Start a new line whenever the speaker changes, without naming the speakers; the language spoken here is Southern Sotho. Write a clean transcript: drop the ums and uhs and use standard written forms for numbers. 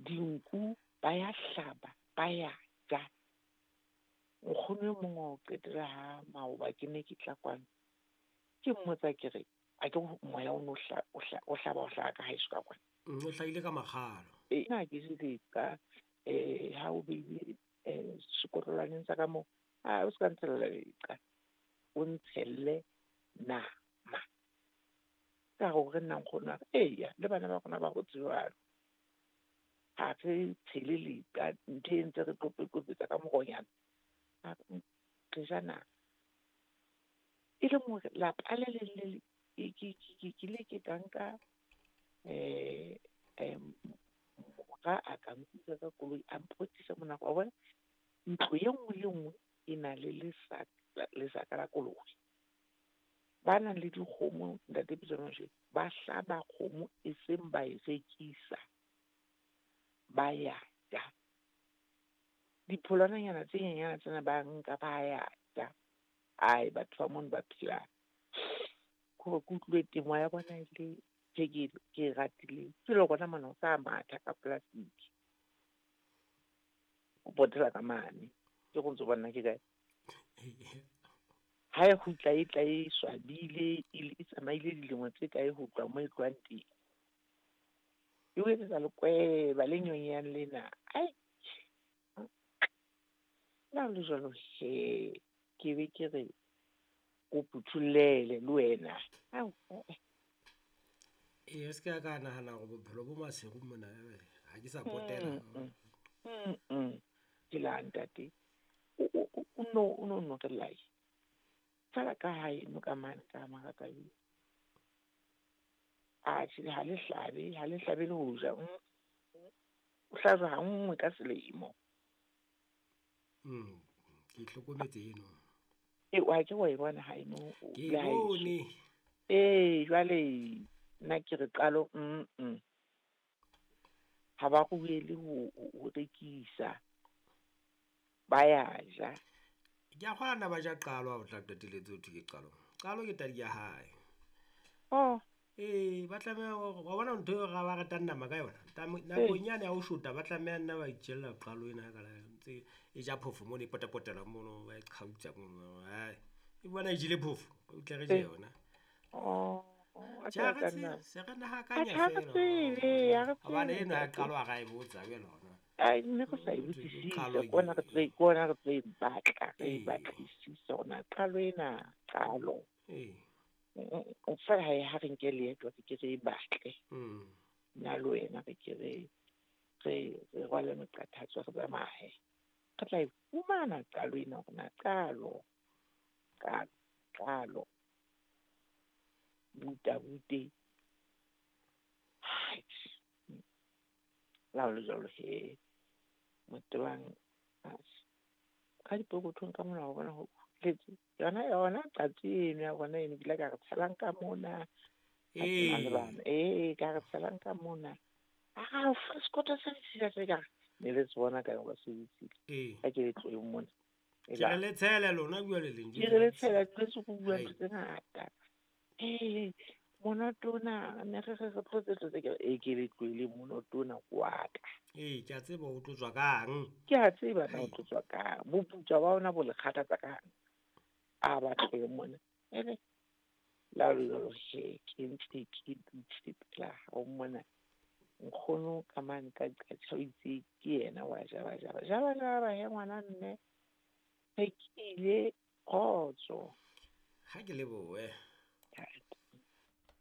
Dinku ba ya hlaba, ba ya ja. Nkgono e mong wa ho qetela ha maoba ke ne ke tla kwano. Ke mmotsa ke re, a ke moya o no o hlaba o hlaha ka haeso ka kwana.
O hlahile ka makgalo.
E na ke jele ka ha o beile sekotlolwaneng sa ka moo, a o ska ntshella leqa. O ntshelle nama. Ka hore nna nkgono wa ka, eya le bana ba rona ba hotse jwalo. Ha re tshele leqa, ntho e ntse re qophe-qophetsa ka moronyana. Re ja nama. E leng hore lapa le leng le le ke le ke ka nka mora a ka nkuka ka koloi a mpotisa mona, wa bona ntlo e nngwe le nngwe e na le lesaka la kolobe. Ba nang le dikgomo, ntate Pitso ba hlaba kgomo e seng ba e rekisa. Ba ya ja. Dipholwananyana tse nyenyana tsena ba nka ba ya ja. Ai, batho ba mono ba phela. Hore ke utlwile temo ya bona e le tje ke e ratileng. Ke le rona mona o sa matha ka plastic. O potela ka mane. Ke go ntso bona ke kae. Ha e kgutla e tla e swabile, e tsamaile dilemo tse kae ho tloha moo e tlohang teng. E o etsetsa lekweba le nyonyehang lena. Ai. Le ha le jwalo he, ke be ke re o phuthullele le wena. Ao,
E se ka ka nahana hore bophelo bo maseru mona, ha ke sa potela.
Ke la ntate. O no no re lai. Fela ka hae no ka mane ka maraka eo. Atjhe, ha le hlabe, ha le hlabe le ho ja. O hlajwa ha nngwe ka selemo.
Ke hlokometse eno.
E wa ke wa e bona ha eno.
Ke bone.
Eh, jwale nna ke re qalo Ha ba ruele ho rekisa. Ba ya ja.
Ke a kgona ba ja qalo ha o tla qetelletse ho thwe ke qalo. Qalo ke tadi ya hae.
Oh.
Eh, ba tlameha hore wa bona ntho eo ba ratang nama ka yona. Nakong yane ya ho shota ba tlameha nna ba itjella qalo ena ka la ntse e ja phofo mono e potapotela mono ba e qhautsa mono. Hai, e bona e jele phofo, o tle re je yona.
Oh.
Tjhe, re se re nahakanya fela. Hobane ena ya qalo ha ra e botsa jwale hona.
Ai, nne re sa e botsisise, kona re tlo e batla, re e batlisise hona qalo ena, qalo. O fela ha re nke leeto re ke re e batle. Nna le wena re ke re rwale meqathatso re tsamaye. Re tla e fumana qalo ena hore na qalo, qalo, qalo. Buta bute. La le jwalo he. Motebang ka dipokothong ka mona wa bona ho tletse. Yona qatsi eno ya bona eno ke ile ka re tshelang ka mona. Ee, ka re tshelang ka mona. Ah, sekotho se ditshila se ka ne le se bona ka ba se ditshila. Ha ke le tloheng mona.
Ke re le tshele lona bua le leng.
Ke re le tshela le se go bua ntho tse ngata. Ee, monotona ne re re tlotse tlotse ke e ke le tlohele monotona wa ka.
Ee, ke a tseba o tlotswa kang.
Ke a tseba na o tlotswa kang. Boputswa ba ona bo le kgathatsa kang. A ba tlohe mona. Ere la lo he ke ntse ke dutse pela hao mona. Nkgono ka mane ka qatjha o itse ke yena wa jaba jaba. Jaba jaba he ngwana mme. Re ke ile kgotso.
Ha ke lebohe.